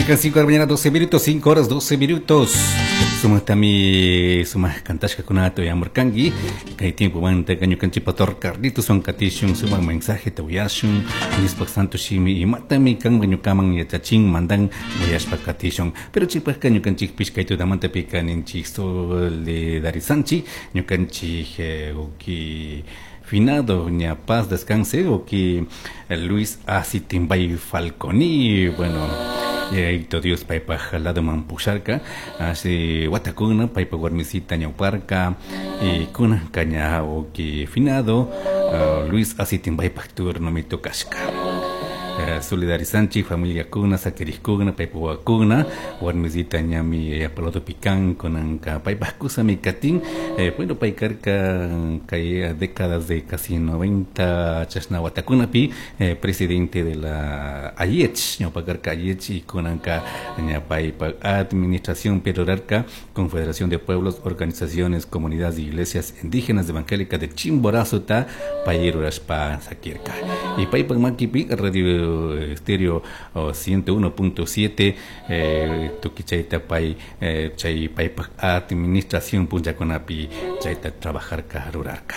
5 de la mañana, 12 minutos, 5 horas 12 minutos. Sumaktami sumak kantashkakunata uyamurkanki. Kay tiempomanta ñukanchik pastor Carlitos wan katishun sumak mensaje uyashun. Diospaj santo shimi imatami kanman ñukaman yachachin mandan uyashpa katishun. Pero chaypajka ñukanchikpish kay tutamantapika ninchik solidarizanchik ñukanchik uki finado ña paz descanse uki Luis Asitimbay Falconi. Bueno, Yayaito Dios paypaj ladoman pusharka así watakuna paypaj warmisita ñawparka y kunanka ña uki finado Luis Asitimbaypaj turnomi tocashka. Solidarizanchik familiakuna sakirikkuna paypaj wawakuna warmisita ñami yapalatopi kan kunanka paypaj kusami katin. Bueno, pay karka kay décadas de casi 90 chashna watakunapi presidente de la AIECH, ñawpa karka AIECH y kunanka ña paypaj administración rurarka Confederación de Pueblos, Organizaciones, Comunidades y Iglesias Indígenas Evangélicas de Chimborazo ta pay rurashpa sakirka. Y paypaj makipi Radio Estéreo 101.7 tukuy chayta pay chay paypaj administración punllakunapi chayta trabajarka rurarka.